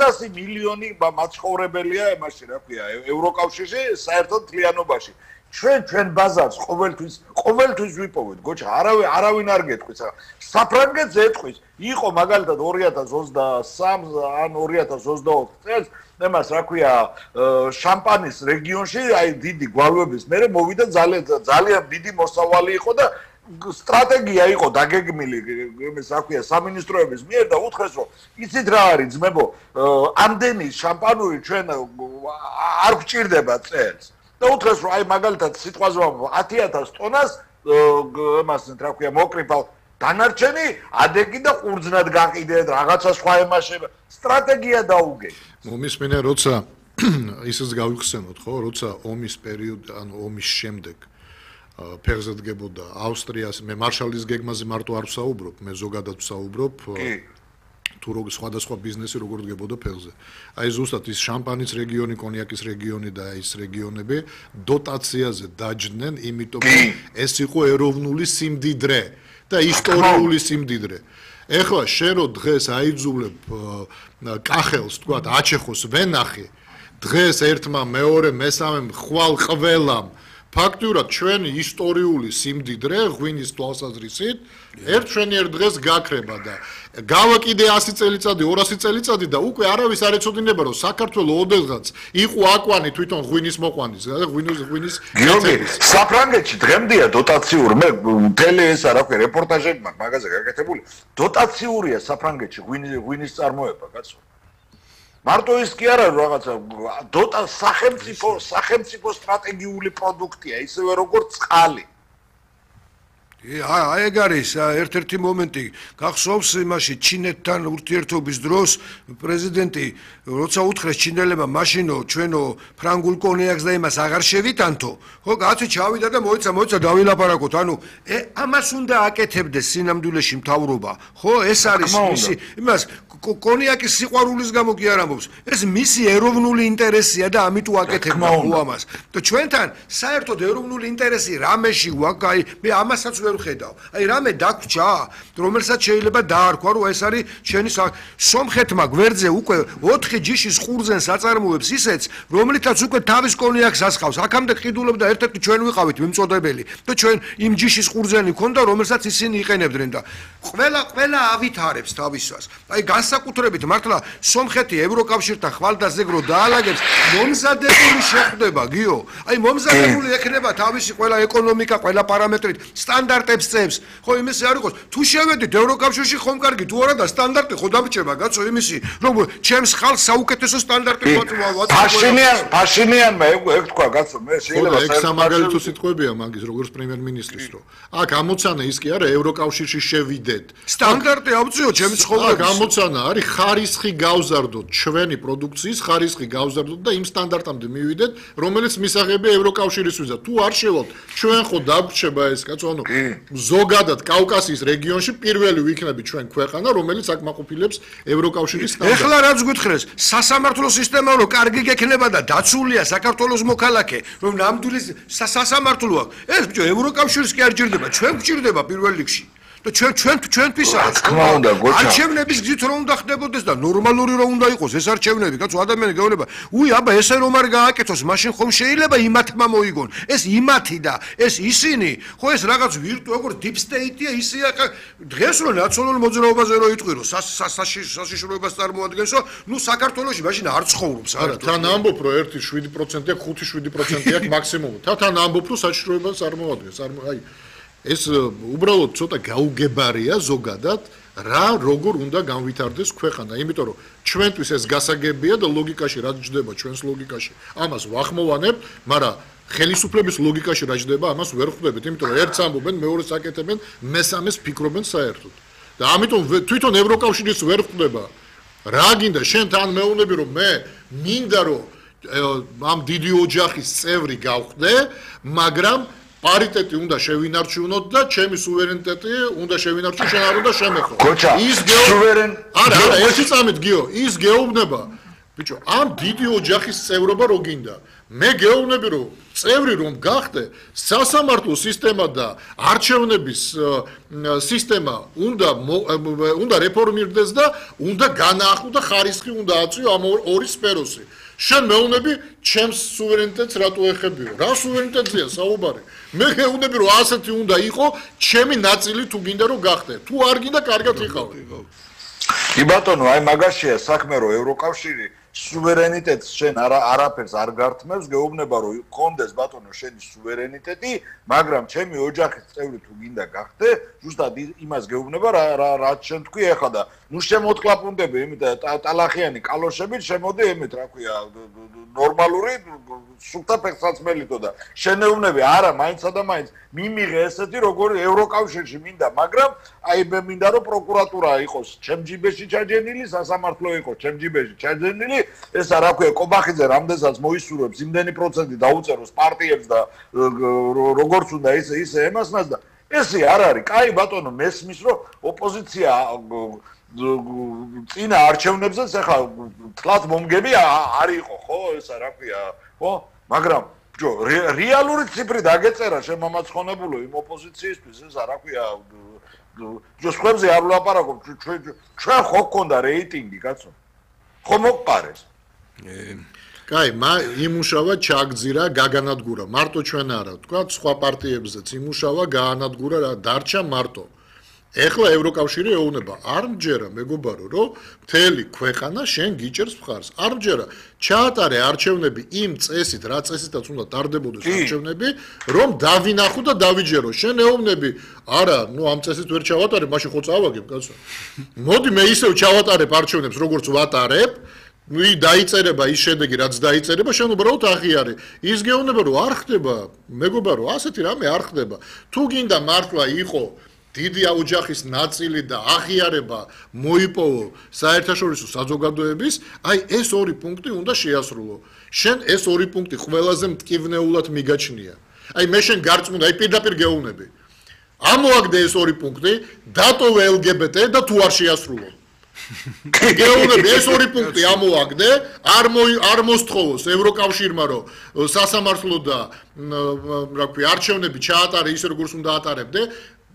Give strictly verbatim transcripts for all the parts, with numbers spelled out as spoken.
ხუთასი მილიონი მაცხოვრებელია იმაში, რა ქვია, ევროკავშირში საერთოდ მთლიანობაში. ჩვენ ჩვენ ბაზარს ყოველთვის ყოველთვის ვიპოვეთ, გოჩა, არავინ არავინ არ გეტყვის. საფრანგეთს ეტყვის, იყო მაგალითად ორი ათას ოცდასამი ან ორი ათას ოცდაოთხ წელს, იმას რა ქვია, შამპანის რეგიონში, აი დიდი გვალვების მერე მოვიდა ძალიან ძალიან დიდი მოსავალი იყო და სტრატეგია იყო დაგეგმილი იმის რა ქვია სამინისტროების მიერ და უთხრეს რომ იცით რა არის ძმებო, ამდენი შამპანური ჩვენ არ გვჭირდება წელს. და უთხრეს რომ აი მაგალითად სიტყვაზე ათი ათას ტონას იმას რა ქვია მოკრიფალ დანარჩენი ადეგი და ყურძნად გაყიდეთ რაღაცა სხვა ემაშება სტრატეგია დაუგე. მომისმენია როცა ისიც გავიხსენოთ ხო, როცა ომის პერიოდი ანუ ომის შემდეგ ფეხზე დგებოდა ავსტრიას, მე მარშალის გეგმაზე მარტო არ ვსაუბრობ, მე ზოგადად ვსაუბრობ თუ როგორ სხვადასხვა ბიზნესი როგორ დგებოდა ფეხზე. აი ზუსტად ის შამპანის რეგიონი, კონიაკის რეგიონი და ის რეგიონები დოტაციაზე დაჯდნენ, იმიტომ რომ ეს იყო ეროვნული სიმდიდრე და ისტორიული სიმდიდრე. ეხლა შენ რო დღეს აიძულებ კახელს, თქვათ, აჩეხოს ვენახი, დღეს ერთმა მეორე მესამემ ხვალ ყველამ ფაქტურად ჩვენი ისტორიული სიმდიდრე ღვინის თვალსაზრისით ერთ შენიერ დღეს გაქრება და გავა კიდე ასი წელიწადი, ორასი წელიწადი და უკვე არავის არ ეცოდინება რომ საქართველოს ოდესღაც იყო აკვანი თვითონ ღვინის მოყვანის და ღვინის ღვინის გიორგი საფრანგეთში დღემდეა დოტაციურ მე მთელი ესა რა ქვია რეპორტაჟები მაქვს მაგაზე გაკეთებული დოტაციურია საფრანგეთში ღვინის ღვინის წარმოება კაცო მარტო ის კი არა რაღაცა დოტა სახელმწიფო სახელმწიფო სტრატეგიული პროდუქტია ისევე როგორც წყალი აი ეგ არის ერთ-ერთი მომენტი გახსოვს იმაში ჩინეთთან ურთიერთობის დროს პრეზიდენტი როცა უთხრეს ჩინელებმა მაშინო ჩვენო ფრანგულ კონიაკს და იმას აღარ შევიტანთო ხო კაცი ჩავიდა და მოიცა მოიცა დავილაპარაკოთ ანუ ამას უნდა აკეთებდეს სინამდვილეში მთავრობა ხო ეს არის მისი იმას კონიაკის სიყვარულის გამო კი არ ამბობს ეს მისი ეროვნული ინტერესია და ამიტომ აკეთებდა ხო ამას და ჩვენთან საერთოდ ეროვნული ინტერესი რამეში გვაქვს აი მე ამასაც ვერ ვხედავ აი რამე დაგვრჩა რომელსაც შეიძლება დაარქვა რომ ეს არის ჩვენი სომხეთმა გვერდზე უკვე ოთხი ჯიშის ყურძენს აწარმოებს ისეც რომლითაც უკვე თავის კონიაკს ასხავს აქამდე ყიდულობ და ერთ-ერთი ჩვენ ვიყავით მიმწოდებელი და ჩვენ იმ ჯიშის ყურძენი ქონდა რომელსაც ისინი იყენებდნენ და ყველა ყველა ავითარებს თავისას აი განსაკუთრებით მართლა სომხეთი ევროკავშირთან ხვალდაზეგრო დაალაგებს მომზადებული შეხვდება გიო აი მომზადებული ექნება თავისი ყველა ეკონომიკა ყველა პარამეტრით სტანდარტებს წევს ხო იმისი არ იყოს თუ შევედით ევროკავშირში ხომ კარგი თუ არა და სტანდარტი ხო დამჭება კაცო იმისი რომ ჩემს ხალხს საუკეთესო სტანდარტი ვაწვავ ფაშინიან ფაშინიანმა ეგ თქვა კაცო მე შეიძლება ეგ სამაგალითო სიტყვებია მაგის როგორც პრემიერ-მინისტრის რომ აქ ამოცანა ის კი არა ევროკავშირში შევიდეთ სტანდარტი ავწიო ჩემი ცხოვრების აქ ამოცანა არის ხარისხი გავზარდოთ ჩვენი პროდუქციის ხარისხი გავზარდოთ და იმ სტანდარტამდე მივიდეთ რომელიც მისაღებია ევროკავშირისთვისაც თუ არ შევალთ ჩვენ ხო დაგვრჩება ეს კაცო ანუ ზოგადად კავკასიის რეგიონში პირველი ვიქნები ჩვენ ქვეყანა რომელიც აკმაყოფილებს ევროკავშირის სტანდარტს ეხლა რაც გითხრეს სასამართლო სისტემა რომ კარგი გექნება და დაცულია საქართველოს მოქალაქე რომ ნამდვილი სასამართლო აქვს ეს ბიჭო ევროკავშირს კი არ ჭირდება ჩვენ გვჭირდება პირველ რიგში და ჩვენ ჩვენ ჩვენთვისაც თქმა უნდა გოჩა არჩევნების გზით რომ უნდა ხდებოდეს და ნორმალური რომ უნდა იყოს ეს არჩევნები კაცო ადამიანი გეუბნება უი აბა ესე რომ არ გააკეთოს მაშინ ხომ შეიძლება იმათმა მოიგონ ეს იმათი და ეს ისინი ხო ეს რაღაც ვირტუალ როგორ deep state-ია ისე დღეს რომ ნაციონალურ მოძრაობაზე რო იტყვირო საშიშროებას წარმოადგენსო ნუ საქართველოში მაშინ არ ცხოვრობს არა თან ამბობ რომ ერთი შვიდი პროცენტია ხუთი შვიდი პროცენტია მაქსიმუმ თან ამბობ რომ საშიშროებას წარმოადგენს აი ეს უბრალოდ ცოტა გაუგებარია ზოგადად რა როგორ უნდა განვითარდეს ქვეყანა იმიტომ რომ ჩვენთვის ეს გასაგებია და ლოგიკაში რაც ჯდება ჩვენს ლოგიკაში ამას ვახმოვანებთ მაგრამ ხელისუფლების ლოგიკაში რაც ჯდება ამას ვერ ხვდებით იმიტომ რომ ერთს ამბობენ მეორეს აკეთებენ მესამეს ფიქრობენ საერთოდ და ამიტომ თვითონ ევროკავშირის ვერ ხვდება რა გინდა შენ თან მეუბნები რომ მე მინდა რომ ამ დიდი ოჯახის წევრი გავხდე მაგრამ პარიტეტი უნდა შევინარჩუნოთ და ჩემი სუვერენიტეტი უნდა შევინარჩუნო შენ არ უნდა შემეხო ის სუვერენ არა არა ერთი წამით გიო ის გეუბნება ბიჭო ამ დიდი ოჯახის წევრობა რო გინდა მე გეუბნები რომ წევრი რომ გახდე სასამართლო სისტემა და არჩევნების სისტემა უნდა უნდა რეფორმირდეს და უნდა განაახლო და ხარისხი უნდა აწვიო ამ ორი სფეროსი შენ მეუბნები ჩემს სუვერენიტეტს რატო ეხებიო რა სუვერენიტეტია საუბარი მე გეუბნები რომ ასეთი უნდა იყო ჩემი ნაწილი თუ გინდა რომ გახდე თუ არ გინდა კარგად იყავი კი ბატონო აი მაგაშია საქმე რომ ევროკავშირი სუვერენიტეტს შენ არა არაფერს არ გართმევს გეუბნება რომ კონდეს ბატონო შენი სუვერენიტეტი მაგრამ ჩემი ოჯახის წევრი თუ გინდა გახდე ზუსტად იმას გეუბნება რა რაც შენ თქვი ახლა და ნუ შემოთკლაპუნდები იმით ტალახიანი კალოშებით შემოდი იმით რა ქვია ნორმალური სულთა ფეხსაცმელითო და შენეუბნები არა მაინცსა და მაინც მიმიღე ესეთი როგორი ევროკავშირში მინდა მაგრამ აი მე მინდა რომ პროკურატურა იყოს ჩემ ჯიბეში ჩაჯენილი სასამართლო იყოს ჩემ ჯიბეში ჩაჯენილი ესა რა ქვია კობახიძე რამდენსაც მოისურვებს იმდენი პროცენტი დაუწეროს პარტიებს და როგორც უნდა ისე ისე ემასნას და ესე არ არის კაი ბატონო მესმის რომ ოპოზიცია წინა არჩევნებზეც ახლა თლაც მომგები არ იყო ხო ესა რა ქვია ხო მაგრამ ჯო რეალური ციფრი დაგეწერა შემამაცხონებულო იმ ოპოზიციისთვის ესა რა ქვია ჯო სხვებზე არ ვლაპარაკობ ჩვენ ჩვენ ხო გქონდა რეიტინგი კაცო ხო მოყარეს კაი მა იმუშავა ჩაგძირა გაგანადგურა მარტო ჩვენ არა თქვა სხვა პარტიებზეც იმუშავა გაანადგურა რა დარჩა მარტო ეხლა ევროკავშირი ეუბნება არ მჯერა მეგობარო რომ მთელი ქვეყანა შენ გიჭერს მხარს არ მჯერა ჩაატარე არჩევნები იმ წესით რა წესითაც უნდა ტარდებოდეს არჩევნები რომ დავინახო და დავიჯერო შენ ეუბნები არა ნუ ამ წესით ვერ ჩავატარებ მაშინ ხო წავაგებ კაცო მოდი მე ისევ ჩავატარებ არჩევნებს როგორც ვატარებ ნუ დაიწერება ის შედეგი რაც დაიწერება შენ უბრალოდ აღიარე ის გეუბნება რომ არ ხდება მეგობარო ასეთი რამე არ ხდება თუ გინდა მართლა იყო დიდი ოჯახის ნაწილი და აღიარება მოიპოვო საერთაშორისო საზოგადოების, აი ეს ორი პუნქტი უნდა შეასრულო. შენ ეს ორი პუნქტი ყველაზე მტკივნეულად მიგაჩნია. აი მე შენ გარწმუნდა, აი პირდაპირ გეუბნები. ამოაგდე ეს ორი პუნქტი, დატოვე ელ გი ბი ტი და თუ არ შეასრულო. გეუბნები ეს ორი პუნქტი ამოაგდე, არ არ მოსთხოვოს ევროკავშირმა რომ სასამართლო და რა ქვია არჩევნები ჩაატარე ისე როგორც უნდა ატარებდე.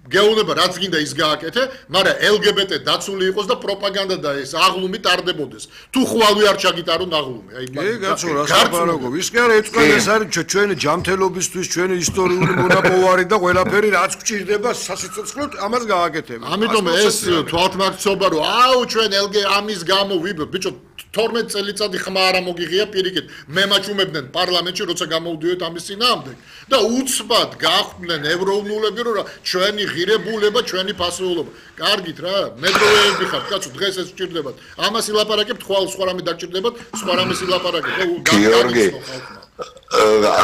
გეუბნება რაც გინდა ის გააკეთე, მაგრამ ელ გი ბი ტი დაცული იყოს და პროპაგანდა და ეს აღლუმი ტარდებოდეს. თუ ხვალვი არ ჩაგიტარონ აღლუმი. აი კი, კაცო, რა საბარაგო. ის კი არა ეწყვეტ ეს არის ჩვენი ჯანმრთელობისთვის, ჩვენი ისტორიული მონაპოვარი და ყველაფერი რაც გვჭირდება სასიცოცხლოდ ამას გააკეთებ. ამიტომ ეს თვალთმაქცობა რომ აუ ჩვენ ელ გი ამის გამო ვიბ ბიჭო თორმეტ წელიწადი ხმა არა მოგიღია პირიქით. მე მაჩუმებდნენ პარლამენტში როცა გამოვდიოთ ამის წინააღმდეგ და უცბად გახვდნენ ევროუნულები რომ ჩვენი ღირებულება ჩვენი ფასეულობა. კარგით რა, მედროვეები ხართ, კაცო, დღეს ეს გჭირდებათ. ამას ილაპარაკებთ, ხვალ სხვა რამე დაგჭირდებათ, სხვა რამეს ილაპარაკებთ. გიორგი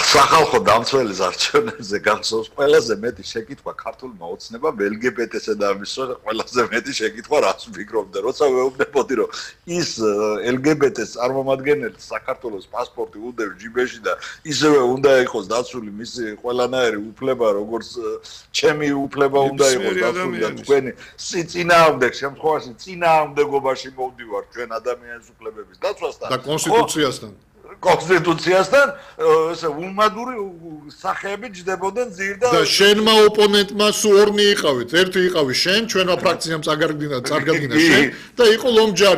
სახალხო დამცველის არჩევნებზე გახსოვს ყველაზე მეტი შეკითხვა ქართულმა ოცნებამ ელ გი ბი ტი-სა და ამის ყველაზე მეტი შეკითხვა რას ვფიქრობდა, როცა ვეუბნებოდი რომ ის ელ გი ბი ტი-ს წარმომადგენელი საქართველოს პასპორტი უდევს ჯიბეში და ისევე უნდა იყოს დაცული მისი ყველანაირი უფლება, როგორც ჩემი უფლება უნდა იყოს დაცული და თქვენი წინააღმდეგ შემთხვევაში წინააღმდეგობაში მოვდივარ ჩვენ ადამიანის უფლებების დაცვასთან და კონსტიტუციასთან კონსტიტუციასთან ესე უმადური სახეები ჯდებოდნენ ძირდა და შენმა ოპონენტმა სულ ორნი იყავით ერთი იყავი შენ ჩვენმა ფრაქციამ წაგარგინა წარგადგინა შენ და იყო ლომჯარი